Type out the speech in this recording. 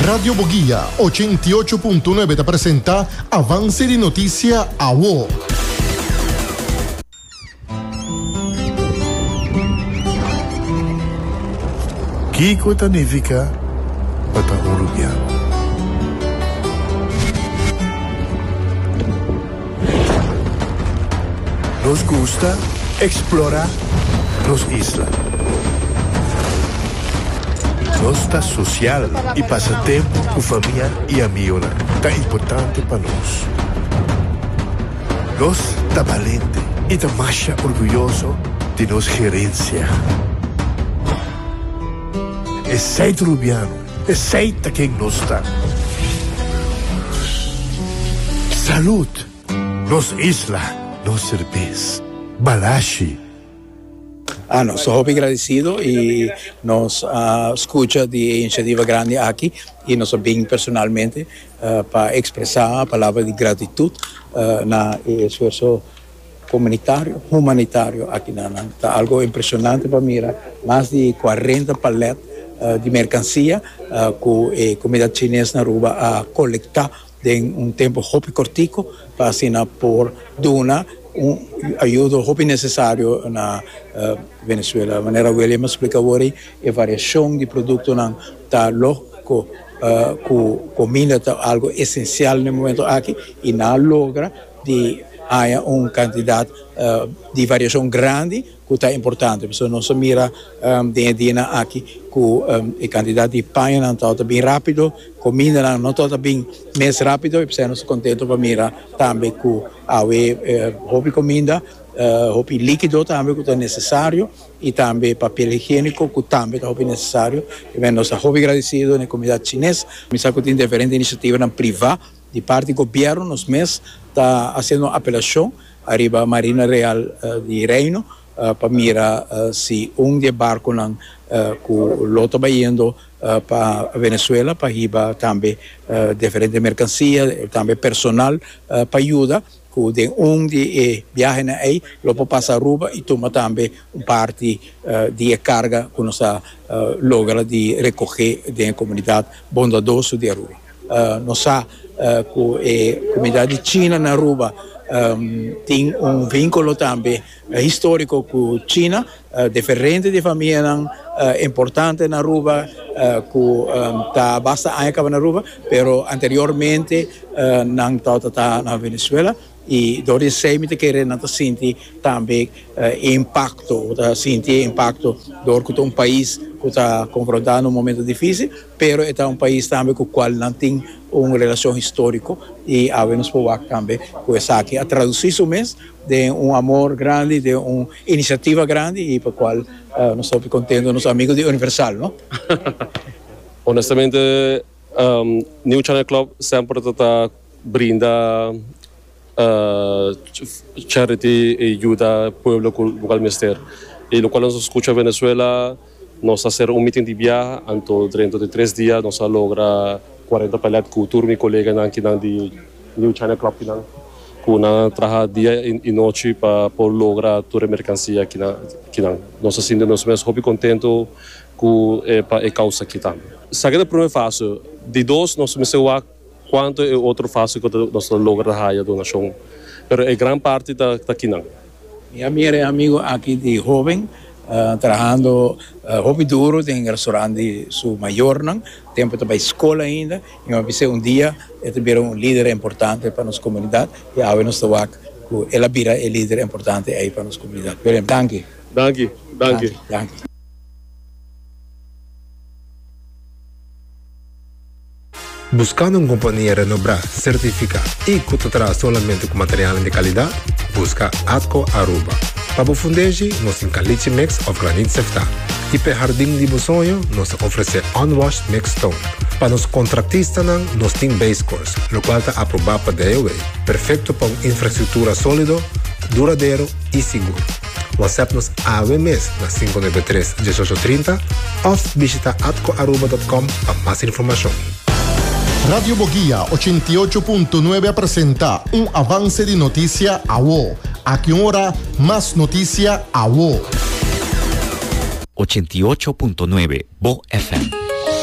Radio Boguia 88.9 ta presenta Avance di Noticia Awo. Kiko ta nifiká pa ta un rubiano? Nos gusta eksplorá nos isla. Nos ta sosial i pasa tempu ku famia i amigonan ta importante pa nos. Nos ta balente i ta masha orguyoso di nos gerensia. Esei ta Rubiano, esei ta ken nos ta. Salud! Nos isla, nos serbes. Balashi. Ah, nos ta hopi gradecido y nos a scucha di e iniciativa grandi aki y nos a bin personalmente pa expresa palabra di gratitud na e esfuerzo comunitario, humanitario aki na nan. Ta algo impresionante pa mira mas di cuarenta palet di mercancia cu e comunidad Chines na Aruba a colecta den un tempo hopi cortico pa asina por duna un ayudo hopi necesario na Venezuela. Manera William a splica awor ei, e variacion di productonan ta loco cu comida ta algo esencial na e momento aki y nan a logra di haña un cantidad di variacion grandi cu ta importante. Pasobra nos a mira den e dianan aki cu e cantidad di pañanan tabata bin rapido, comindanan no tabata bin mes rapido y p'esei nos ta contento pa mira tambe cu awe hopi cominda, hopi likido tambe cu ta necesario y tambe papel higienico cu tambe ta hopi necesario. Y nos ta hopi gradecido na e comunidad Chines. Mi sa cu tin diferente iniciativanan priva di parti gobierno, nos mes ta haciendo un apelacion ariba Marina Real di Reino pa mira si un di e barconan cu lo ta bayendo pa Venezuela pa hiba tambe diferente mercancia, tambe personal pa yuda cu den un di e biahenan ey lo por pasa Aruba y tuma tambe un parti di e carga cu nos a logra di recoge den e comunidad bondadoso di Aruba. Nos sa cu e comunidad di China na Aruba tin un vinculo tambe historico cu China. Diferente di famianan importante na Aruba cu ta basta aña caba na Aruba, pero anteriormente nan tabata ta na Venezuela y dor di esey mi ta kere nan ta sinti tambe e impacto, ta sinti e impacto dor cu ta un pais cu ta confrontando un momento dificil, pero e ta un pais tambe cu cual nan tin un relacion historico y awe nos por wak tambe cu esaki a traduci su mes den un amor grandi, den un iniciativa grandi y pa cual nos ta hopi contento, nos amigo di Universal, no? Honestamente, New China Club semper ta ta brinda charity y yuda pueblo cu locual mester. Y locual nos a scucha Venezuela, nos a hacer un meeting di biaha, anto drento di tres dia nos a logra cuarenta palet cu tur mi coleganan kinan di New China Club kinan cu nan a traha dia y nochi pa por logra tur e mercancia kinan. Nos a sinti nos mes hopi contento cu pa e causa aki tambe. Esaki ta e prome fase. Di dos nos mester wak cuanto e otro fase cu nos ta logra haya donacion. Pero e gran parti ta kinan. Mi a mira e amigo aki di hoben trahando hopi duro den restaurant di su mayornan, tempo e ta bay scol ainda. Mi a bis'é un dia e ta bira un lider importante pa nos komunidat i awe nos ta wak ku el a bira e lider importante ei pa nos komunidat. William, danki. Danki, danki. Danki. Buskando un kompania renobrá, sertifiká i ku ta traha solamente ku materialnan di kalidat? Buska Atco Aruba. Pa bo fundeshi, nos tin caliche mix òf granit seftá. I p'e hardin di bo soño, nos ta ofresé unwashed mixed stone. Pa nos kontraktistanan, nos tin base course, lokual ta aprobá pa DOW, perfekto pa un infrastruktura sólido, duradero i sigur. WhatsApp nos awe mes na 593 1830 òf bishita atcoaruba.com pa mas informashon. Radio Boguia 88.9 a presenta un avance di noticia awo. Aki un ora, mas noticia awo. 88.9 Bo FM.